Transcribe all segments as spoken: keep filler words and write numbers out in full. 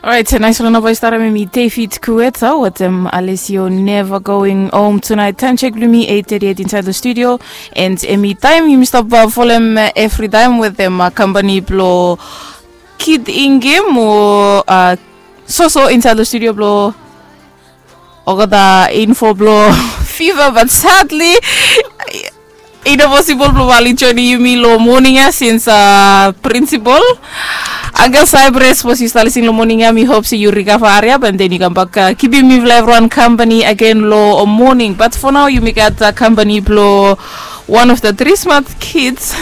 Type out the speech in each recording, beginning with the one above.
Orait, nais long namba i start em i David Kueta wetem Alessio Never Going Home Tonight. Taem check blong mi eight thirty-eight inside the studio. And em i taem yumi stap folem every time wetem company blong Kid Ingim o soso inside the studio blong olgeta info blong fiva, but sadly i no posibol blong bae oli joinim yumi long moning ya since principal Uncle Cyprus was i stap lisin long moning ya. Mi hop se yu rikava hariap and then yu kambak kipim mifala evriwan kampani agen long moning. But for now yumi gat kampani blong one of the three smart kids,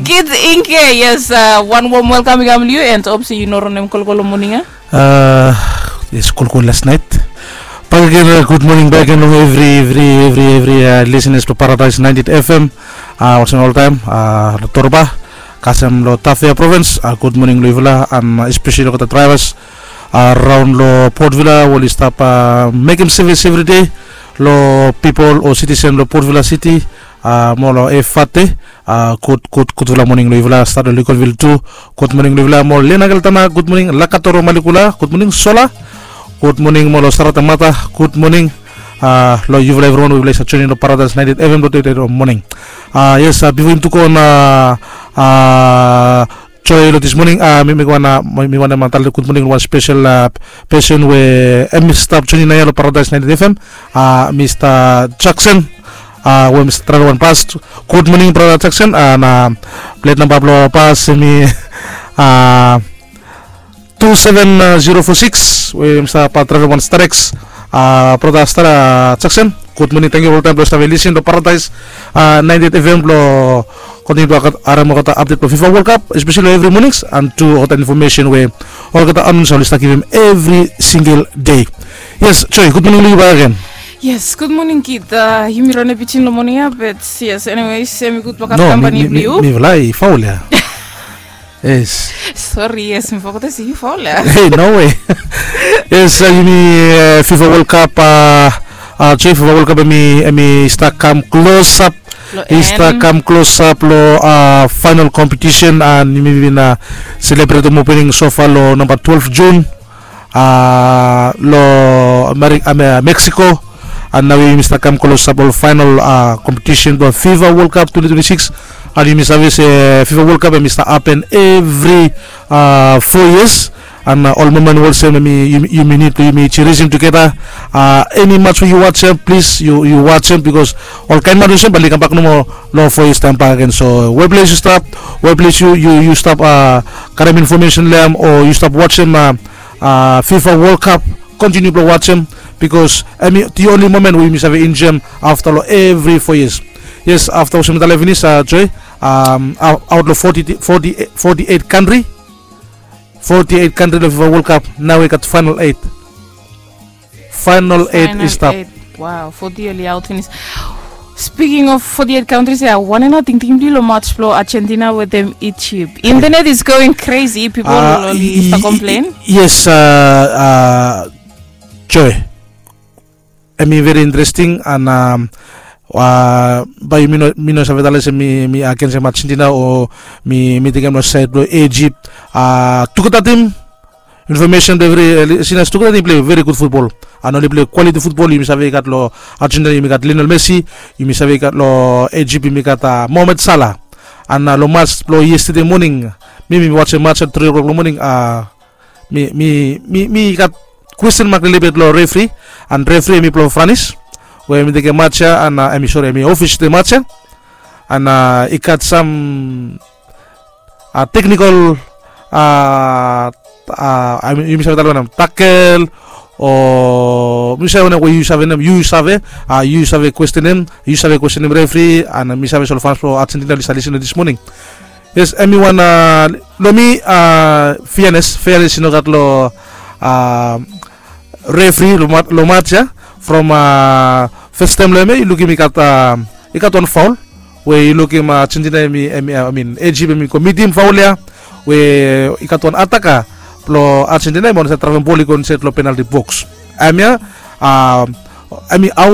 Kid Ingim. Yes, wan wom welkam i kam long yu and hop se yu no ronem kolkol long moning ya. Yes, kolkol las naet. Bakegen, gud moning bakegen long evri evri evri evri lisenas blong Paradise ninety-eight F M. Olsem oltaem long Torba, kasem long Tafea provins. Gud moning long yufala, espeseli olgeta draevas raon long Port Vila we oli stap mekem sevis evri dei long pipol o sitisen blong Port Vila City mo long Efate. Gud gud gudfala moning long yufala. Stat long Lincolnville tu, gud moning long yufala. Mo Lena Geltana, gud moning. Lakatoro Malikula, gud moning. Sola, gud moning. Mo long Saratamata, gud moning. Long yufala evriwan we yufala i save joinim long Paradise ninety-eight F M long tede long moning. Yes, bifo yumi tu go on, Joe, long dis moning mi wantem talem gud moning long wan spesel pesen we hem i stap joinim naoia long Paradise ninety-eight F M, Mista Jackson, we hem i stap draevem wan bas. Gud moning brata Jackson. Plet namba blong bas hem i two seven zero four six, we hem i stap draevem wan Starex. Brata Jackson, gud moning. Tangkiu oltaem blong save lisin long Paradise ninety-eight F M blong kontiniu blong harem olgeta apdet blong FIFA World Cup, espeseli long evri monings, and tu olgeta infomesen we olgeta anons oli stap givim evri singel dei. Yes, Joe, gud moning long yu bakegen. Yes, gud moning Kid. Yumi rane pijin long moning ya, but yes, anyways, hem i gud bakap kampani blong yu. Mifala i faul ya. Yes. Sori, yes, mi fogetem se yu faul ya. Hei, no way. Yes, yumi FIFA World Cup, Joe, FIFA World Cup hem i stap kam klosap. I stap kam klosap long final kompetisen, and yumi bin selebretem opening sofa long namba twelve Jun long Mexico. And naoia yumi stap kam klosap long final kompetisen blong FIFA World Cup twenty twenty-six. And yumi save se FIFA World Cup hem i stap hapen evri four years. And ol momen olsem hem i, yumi nid blong yumi jirisim tugeta. Eni mats we yu wajem, plis yu wajem, bikos olkaen mats olsem bae oli kambak nomo long four years taem bakegen. So we ples yu stap, we ples yu stap karem infomesen long hem o yu stap wajem FIFA World Cup, kontiniu blong wajem, bikos hem i the only moment we yumi save enjoem afta long evri four years. Yes, afta olsem mi talem finis, Joe, aot long forty-eight kantri, forty-eight kantri long FIFA World Cup, naoia i gat final eight. Final eight i stap. Wow, forty oli aot finis. Speaking of forty-eight countries ya, wanem nao tingting blong yu long mats blong Argentina wetem Egypt? Internet is going crazy, pipol oli stap komplen. Yes, Joe, hem i veri interesting, and bae mi no save talem se mi agensem Argentina o mi tekem long saed blong Egypt. Tugeta tim, infomesen blong evri lisenas, tugeta tim i pilei veri gud futbol, and oli pilei kwaliti futbol. Yumi save i gat long Argentina yumi gat Lionel Messi, yumi save i gat long Egypt yumi gat Mohamed Salah. And long mats blong yestede moning, mi mi wajem mats at tri o'clock long moning. Mi mi mi mi gat kwesten mak lelebet long refri, and refri hem i blong Franis, we hem i tekem mats ya, and hem i, sori, hem i ofisietem mats ya, and i gat sam teknikol, yumi save talem wanem, takel, o mi save wanem we yu save nem, yu save, yu save kwesten hem, yu save kwesten hem refri, and mi save se ol fans blong Argentina oli stap lisin long dis moning. Yes, hem i wan, long mi, feanes, feanes i no gat long refri long mats ya. From fes taem long hem ya yu lukim i gat, i gat wan faol we yu lukim Argentina hem i, hem i, I mean Egypt hem i go mitim faol ya, we i gat wan ataka blong Argentina hem i wan save draevem bol i go insaed long penalti boks. Hem ya, hem i aot